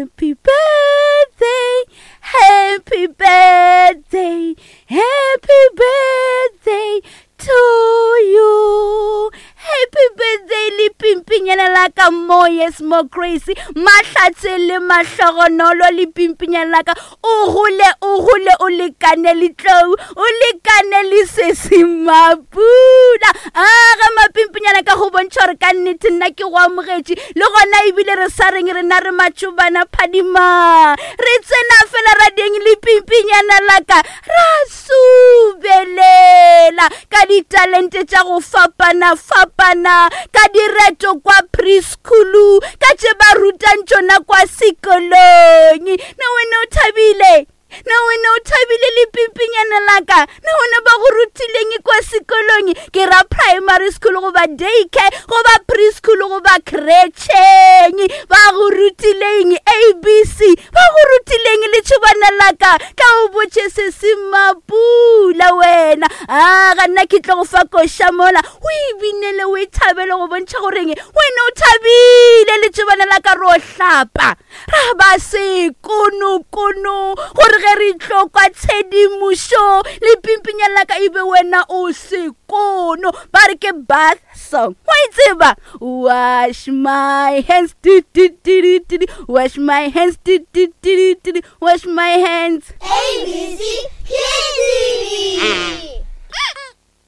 Happy birthday, happy birthday, happy birthday to you. Happy birthday le pimpinyana la ka mo yes mo crazy mahlatse le mahlogonolo le pimpinyana la ka o gole o gole o lekane le tlou o lekane le sesi mapula a ga mapimpinyana ka go bontšha gore ka nnete nna ke go amogetše le gona ebile re sa reng rena re matšobana phadima re tsena fela radieng le pimpinyana laka ra subelela ka ditalente tša go fapana-fapana ka direto kwa preschoolu ka tše ba rutang tšona kwa sekolong na wena o thabile na wena o thabile le pimpinyana laka na wena ba go rutileng kwa sekolong ke ra primary school goba daycare goba preschool goba kretšheng ba go rutileng abc ba go rutileng letšhobana laka ka o botše se se mapula wena a ga nna ke tlo go fa koša mola o e binele o e thabele go bontšha goreng wena o thabile letšhobana laka ro hlapa ra ba sekonokono gore ge re tlo kwa tshedimošo le pimpinya laka e be wena o sekono ba re ke bath song wa e tseba wash my hands di, di, di, di, di, di. wash my hands di, di, di, di, di, di. wash my hands ABC Kids TV.